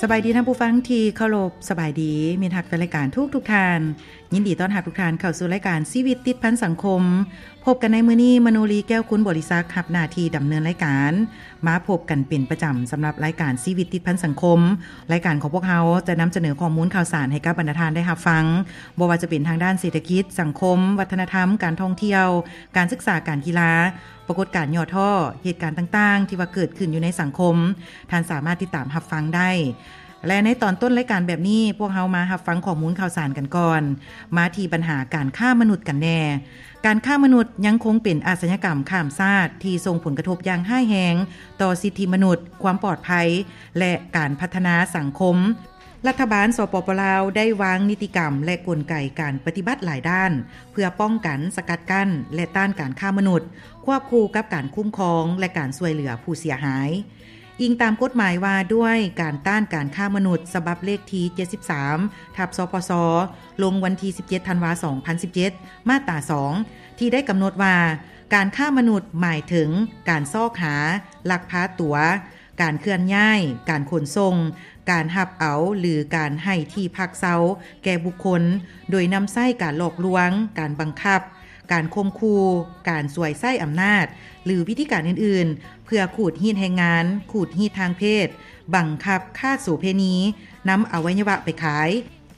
ສະບາຍດີທ່ານຜູ້ຟັງທີ່ເຄົາລົບ, ສະບາຍດີມິດຮັກແຟນລາຍການທຸກໆທ່ານ. ຍິນດີຕ້ອນຮັບທຸກທ່ານເຂົ້າສູ່ລາຍການຊີວິດຕິດພັນສັງຄົມ. ພົບກັນໃນມື້ນີ້, ມະໂນລີ ແກ້ວຄຸນບໍລິສັກ ຮັບໜ້າທີ່ດຳເນີນລາຍການ. ມາພົບກັນເປັນປະຈຳສຳລັບລາຍການຊີວິດຕິດພັນສັງຄົມ. ລາຍການຂອງພວກເຮົາຈະນຳສະເໜີຂໍ້ມູນຂ່າວສານໃຫ້ກັບບັນດາທ່ານໄດ້ຮັບຟັງ, ບໍ່ວ່າຈະເປັນທາງດ້ານເສດຖະກິດ, ສັງຄົມ, ວັດທະນະທຳ, ການທ່ອງທ່ຽວ, ການສຶກສາ, ການກິລາ, ປາກົດການຫຍໍ້ທໍ້, ເຫດການຕ່າງໆທີ່ວ່າເກີດຂຶ້ນຢູ່ໃນສັງຄົມ, ທ່ານສາມາດຕິດຕາມຮັບຟັງໄດ້. ແລະ ໃນຕອນຕົ້ນລາຍການແບບນີ້, ພວກເຮົາມາຮັບຟັງຂໍ້ມູນຂ່າວສານກັນກ່ອນ. ມາທີ່ບັນຫາການຄ້າມະນຸດກັນແດ່. ການຄ້າມະນຸດຍັງຄົງເປັນອາຊະຍາກຳຂ້າມຊາດທີ່ສົ່ງຜົນກະທົບຢ່າງຮ້າຍແຮງຕໍ່ສິດທິມະນຸດ, ຄວາມປອດໄພ ແລະ ການພັດທະນາສັງຄົມ. ລັດຖະບານ ສປປ ລາວ ໄດ້ວາງນິຕິກຳ ແລະ ກົນໄກການປະຕິບັດຫຼາຍດ້ານ ເພື່ອປ້ອງກັນ, ສະກັດກັ້ນ ແລະ ຕ້ານການຄ້າມະນຸດ, ຄວບຄູ່ກັບການຄຸ້ມຄອງ ແລະ ການຊ່ວຍເຫຼືອຜູ້ເສຍຫາຍ. ອີງຕາມກົດໝາຍວ່າດ້ວຍການຕ້ານການຄ້າມະນຸດ ສະບັບເລກທີ ເຈັດສິບສາມ ທັບ ສປສ ລົງວັນທີ ສິບເຈັດ ທັນວາ ສອງພັນສິບເຈັດ ມາດຕາ ສອງ ທີ່ໄດ້ກຳນົດວ່າ ການຄ້າມະນຸດໝາຍເຖິງການຊອກຫາ, ລັກພາຕົວ, ການເຄື່ອນຍ້າຍ, ການຂົນສົ່ງ, ການຮັບເອົາ ຫຼື ການໃຫ້ທີ່ພັກເຊົາແກ່ບຸກຄົນ ໂດຍນຳໃຊ້ການຫຼອກລວງ, ການບັງຄັບ, ການຂົ່ມຂູ່, ການສວຍໃຊ້ອຳນາດ ຫຼື ວິທີການອື່ນໆ ເພື່ອຂູດຮີດແຮງງານ, ຂູດຮີດທາງເພດ, ບັງຄັບຄ້າໂສເພນີ, ນຳອະໄວຍະວະໄປຂາຍ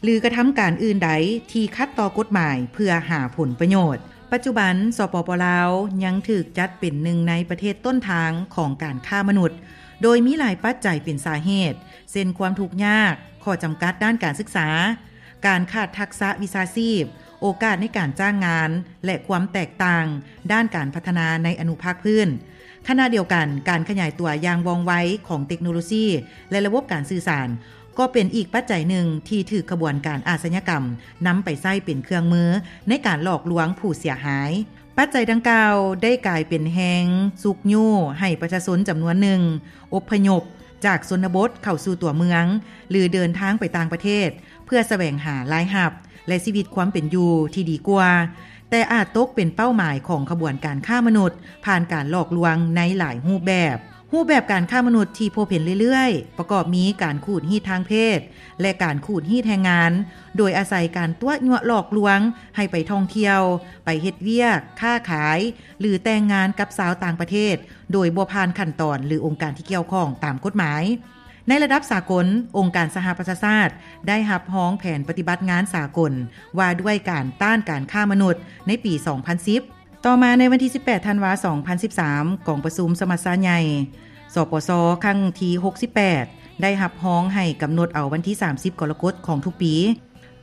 ຫຼື ກະທຳການອື່ນໃດທີ່ຂັດຕໍ່ກົດໝາຍເພື່ອຫາຜົນປະໂຫຍດ. ປັດຈຸບັນ ສປປ ລາວ ຍັງຖືກຈັດເປັນໜຶ່ງໃນປະເທດຕົ້ນທາງຂອງການຄ້າມະນຸດ, ໂດຍມີຫຼາຍປັດໄຈເປັນສາເຫດ ເຊັ່ນ ຄວາມທຸກຍາກ, ຂໍ້ຈຳກັດດ້ານການສຶກສາ, ການຂາດທັກສະວິຊາຊີບ, ໂອກາດໃນການຈ້າງງານ ແລະ ຄວາມແຕກຕ່າງດ້ານການພັດທະນາໃນອະນຸພາກພື້ນ. ຂະນະດຽວກັນ, ການຂະຫຍາຍຕົວຢ່າງວ່ອງໄວຂອງເຕັກໂນໂລຊີ ແລະ ລະບົບການສື່ສານ ກໍເປັນອີກປັດໄຈໜຶ່ງທີ່ຖືກຂະບວນການອາຊະຍາກຳນຳໄປໃຊ້ເປັນເຄື່ອງມືໃນການຫຼອກລວງຜູ້ເສຍຫາຍ. ປັດໄຈດັ່ງກ່າວໄດ້ກາຍເປັນແຮງຊຸກຍູ້ໃຫ້ປະຊາຊົນຈຳນວນໜຶ່ງອົບພະຍົບຈາກຊົນນະບົດເຂົ້າສູ່ຕົວເມືອງ ຫຼື ເດີນທາງໄປຕ່າງປະເທດ ເພື່ອສະແຫວງຫາລາຍຮັບ ແລະ ຊີວິດຄວາມເປັນຢູ່ທີ່ດີກວ່າ, ແຕ່ອາດຕົກເປັນເປົ້າໝາຍຂອງຂະບວນການຄ້າມະນຸດ ຜ່ານການຫຼອກລວງໃນຫຼາຍຮູບແບບ. ຮູບແບບການຄ້າມະນຸດທີ່ພົບເຫັນເລື້ອຍໆ ປະກອບມີການຂູດຮີດທາງເພດ ແລະ ການຂູດຮີດແຮງງານ ໂດຍອາໄສການຕົວະຍົວະຫຼອກລວງໃຫ້ໄປທ່ອງທ່ຽວ, ໄປເຮັດວຽກ, ຄ້າຂາຍ ຫຼື ແຕ່ງງານກັບຊາວຕ່າງປະເທດ ໂດຍບໍ່ຜ່ານຂັ້ນຕອນ ຫຼື ອົງການທີ່ກ່ຽວຂ້ອງຕາມກົດໝາຍ. ໃນລະດັບສາກົນ, ອົງການສະຫະປະຊາຊາດໄດ້ຮັບຮອງແຜນປະຕິບັດງານສາກົນວ່າດ້ວຍການຕ້ານການຄ້າມະນຸດໃນປີສອງພັນສິບ. ຕໍ່ມາໃນວັນທີສິບແປດ ທັນວາ ສອງພັນສິບສາມ, ກອງປະຊຸມສະມັດຊາໃຫຍ່ ສປສ ຄັ້ງທີຫົກສິບແປດ ໄດ້ຮັບຮອງໃຫ້ກຳນົດເອົາວັນທີສາມສິບ ກໍລະກົດຂອງທຸກປີ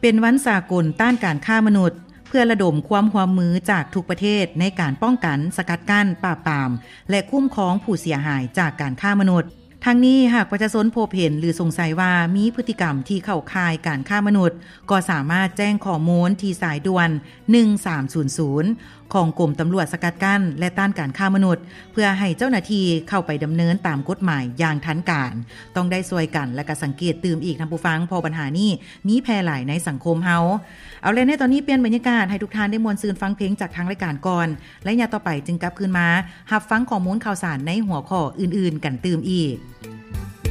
ເປັນວັນສາກົນຕ້ານການຄ້າມະນຸດ ເພື່ອລະດົມຄວາມຮ່ວມມືຈາກທຸກປະເທດໃນການປ້ອງກັນ, ສະກັດກັ້ນ, ປາບປາມ ແລະ ຄຸ້ມຄອງຜູ້ເສຍຫາຍຈາກການຄ້າມະນຸດ. ທັງນີ້, ຫາກປະຊາຊົນພົບເຫັນ ຫຼື ສົງໄສວ່າມີພຶດຕິກຳທີ່ເຂົ້າຂ່າຍການຄ້າມະນຸດ, ກໍສາມາດແຈ້ງຂໍ້ມູນທີ່ສາຍດ່ວນ ໜຶ່ງສາມສູນສູນ ຂອງກົມຕຳຫຼວດສະກັດກັ້ນ ແລະ ຕ້ານການຄ້າມະນຸດ ເພື່ອໃຫ້ເຈົ້າໜ້າທີ່ເຂົ້າໄປດຳເນີນຕາມກົດໝາຍຢ່າງທັນການ. ຕ້ອງໄດ້ຊ່ວຍກັນ ແລະ ກະສັງເກດຕື່ມອີກ, ທ່ານຜູ້ຟັງ, ເພາະບັນຫານີ້ມີແຜ່ຫຼາຍໃນສັງຄົມເຮົາ. ເອົາແລະ, ໃນຕອນນີ້ປ່ຽນບັນຍາກາດໃຫ້ທຸກທ່ານໄດ້ມ່ວນຊື່ນຟັງເພງຈາກທາງລາຍການກ່ອນ. ໄລຍະຕໍ່ໄປຈຶ່ງກັບຄືນມາຮັບຟັງຂໍ້ມູນຂ່າວສານໃນຫົວຂໍ້ອື່ນໆກັນຕື່ມອີກ.